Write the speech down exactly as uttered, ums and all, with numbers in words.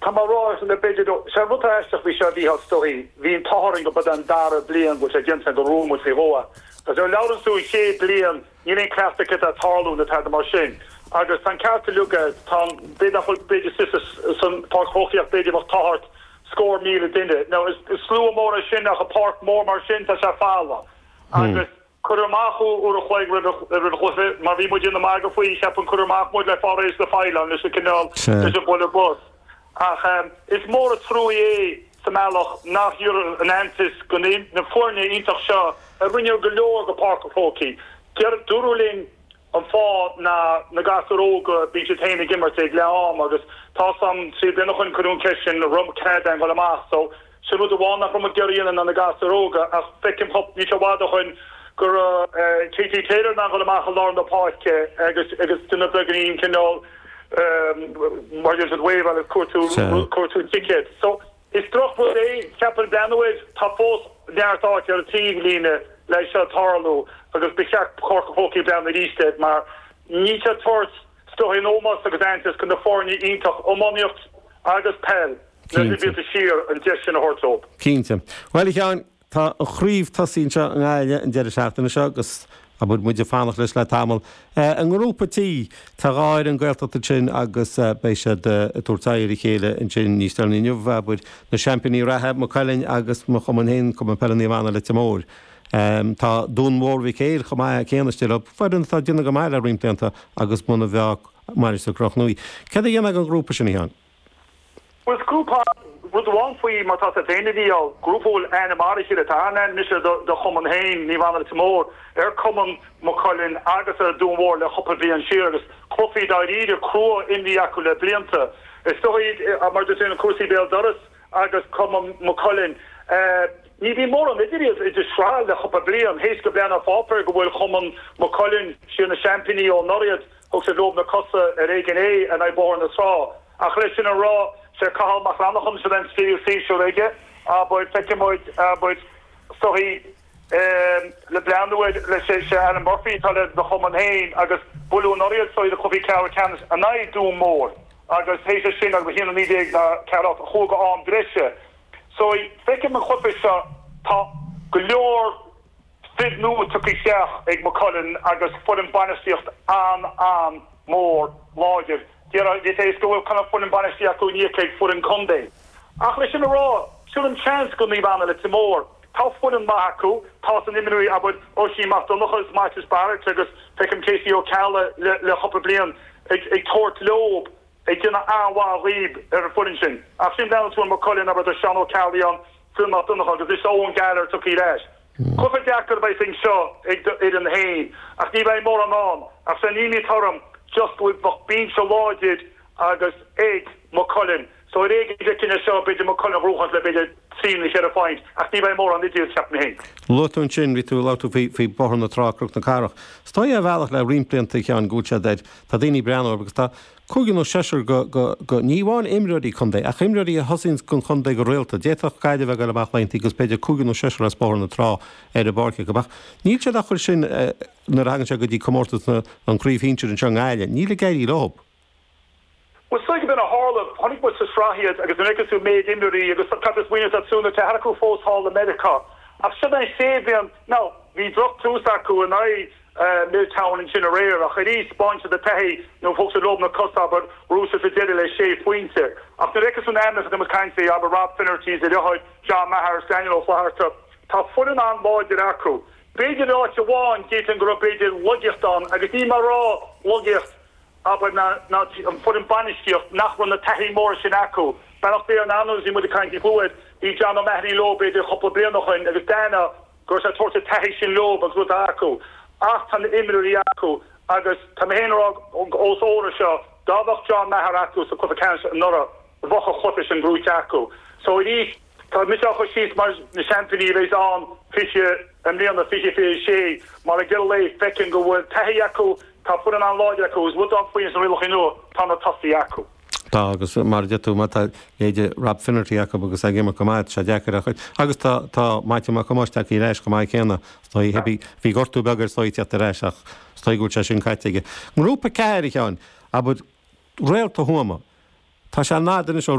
Tá mar rá le b'fhéidir sé rud aisteach bhí sé bhí stoí, bhí an t-ádh orainn go bud an dara bliain go sé déanta go rúmu fé hoa. Agus ar leabhann tú chéad bliain níl aon cleachtadh a tarlú na tada mar sin. Agus tá ceart luga tá b'fhéidir b'fhéidir san Páirc Chrócaigh b'fhéidir bheadh thart scór míle duine. Now is slua mór é sin ach a páirc mór mar sin tá sé folamh. Agus cuir amach uair a chloig roimh chluiche mar bhí muid ina magadh faoi cheapann cuir amach muid le fáréis le feileán leis an cineál leis an buile bus. Ach um, is mór an trua é sa mbealach nach dtabharfaidh an aitheantas go na foirne iontach seo a rinne go leor go Páirc an Chrócaigh. Dúradh linn an fáth na na gasúir óga bíonn siad féin ag imirt ag leath am agus tá sam trí bliana chun chun ceist sin rum cean go amach so sin rud amháin nach raibh gearraíonn na gasúir óga ach feicim ní se bhd chun gur T T Taylor na go amach lár na páirce agus agus duine beagán cineál mar siad wave agus cuartú cuartú ticket. So is drochrud é ceapaim breathnú tá fós neart áit ar taobhlíne leis seo tarlú agus ba cheart Páirc an Chrócaigh breathnú arís mar ní sé tabhairt sto ómós agus aitheantas chun na foirne iontach iománaíocht agus peil le siar an deis sin a thabhairt. Cinnte. Well Sheáin tá an chraobh tosaithe anseo i nGaillimh an deireadh seachtaine seo agus a bud muide fanacht leis le tamall. An ngrúpa T tá dhá fhoireann Gaeltachta sin agus beidh siad ag tabhairt aghaidh ar a chéile ansin níos deireanaí inniu abair na seaimpíní reatha Maigh Cuilinn agus mo chumann féin Cumann Peile Naomh Anna Leitir Móir. Um, tá Dún Mór Mhic Éil chomh maith céanna istigh foireann atá déanamh go maith le roinnt blianta agus muna bheadh Mainistir Chnoc Nuadh. Cad a dhéanamh an grúpa sin Sheáin? Well grúpa rud amháin faoi mar tá féin bhí á grúpáil aine mar chéile tá an mise do chumann féin Naomh Anna Leitir Móir ar cumann Maigh Cuilinn agus ar Dún Mór le cúpla bliain siar agus cluichí dáiríre crua imrithe acu le blianta. Is dóigh mar sin an cúrsaí béal doras agus cumann Maigh Cuilinn. Ní bhí mór an idir idir sraith le cúpla bliain théis go bliana fápar go bhfuil cumann Maigh Cuilinn siar na seaimpíní ó anuraidh thug sé leo na cosa ar éigean é an bóthar na trá. Ach leis sin a rá sé Cathal Mac Lannachán se den tríú séasúr aige abair feicfimid abair soí le breathnú le sé sé Alan Murphy tá le do chumann féin agus bualadh anuraidh so de cluiche ceathrú ceannais an aghaidh Dún Mór agus théis sin agus híana ní na ceart chuga am breise. So feicim an cluiche seo tá go leor fir nua tugtha isteach ag Maigh Cuilinn agus foireann bainistíocht an an mór láidir. Dé go bhfuil chuna foireann bainistíocht ní ag foireann contae. Ach leis sin a rá sin an chance go Naomh Anna Leitir Móir. Tá foireann maith acu tá san imreoirí abair Oisín Mac Donncha is Maitias Barrett agus feicim Casey Ó Ceallaigh le le cúpla bliain ag ag tabhairt leo ag déanamh an-mhaith ar an foireann sin. Ach sin breathnú tú Maigh Cuilinn abair Seán Ó Ceallaigh an Phil Mac Donncha agus is ón Gallagher tugtha leis. Cluiche deacair beidh sin seo ag fhoireann féin ach ní bheidh mór an ann ach san ní torm just go bheadh binse láidir agus ag Maigh Cuilinn. So ar éigean cinenne seo b'fhéidir Maigh Cuilinn rúchant le b'fhéidir trí nó ceithre phointe ach ní bheidh mór an idir ceapaim féin. Luaigh tú ansin bhí tú labhairt faoi faoi Bóthar na Trá Cnoc na Cathrach. Stoi a bhealach le roinnt blianta ceann go bhfuil siad air tá daoine breathnú agus tá cúigear nó seisear go go go ní amháin imreoirí contae ach imreoirí a thosaíonn don chontae go rialta. D'fhéadfadh Gaillimh a ghabháil amach laethanta agus b'fhéidir cúigear nó seisear as Bóthar na Trá ar an bpáirc go bach. Níl siad ach sin eh, nuair a thagann sé go dtí comórtas na an chraobh shinsir anseo i nGaillimh. Níl ag éirí leo. Well so ben a hála tháinig mu sa srahiad agus an tú méid imreoirí agus cad is muine súna te acu fós thall i Meiriceá. Ach sin an sé bhíon no bhí drochtús acu in aghaidh Milltown ansin aréir ach arís báinte de taithí nó thug sé leo na cosa abair rúsa sa deireadh le sé phointe. Ach na reice san aimne dem cainte aber Rob Finnerty a leithéid John Maher Daniel Ó Flatharta Tá foireann an-láidir acu. B'fhéidir áit amháin déan go b'fhéidir laigeacht ann agus ní mar rá laigeacht aber na na an foireann bainistíocht nach raibh na taithí mór sin acu. Beach an anú mu caint fuid bhí John O'Mahony leo b'fhéidir cúpla bliain ó shin agus dana gur sé tuairte taithí sin leo agus rud acu. Ach tá na imreoirí acu agus tá mé rá os óra seo dá bheadh John Maher acu sa cluiche ceannais anuraidh bheadh an cluiche sin buaite acu. So arís tá mis chu síos mar na seaimpíní bheith an fiche an mbliana fiche fiche sé mar a gil le feiceann go bhfuil taithí acu tá foireann an-láidir acu is rud faoin san rialacha nua tá na tosaithe acu. Tá agus mar a deir tú má tá leithéid Rob Finnerty acu agus ag imirt go maith sé deacair a agus tá tá Maite Mac Cumáis í leis go maith céanna bhí bhí gortú beag air soiteacht ar ais ach stoi go sé sin caite aige. Ngrúpa ceathair Sheáin abair Réalta Thuama. Tá sé nádan is ó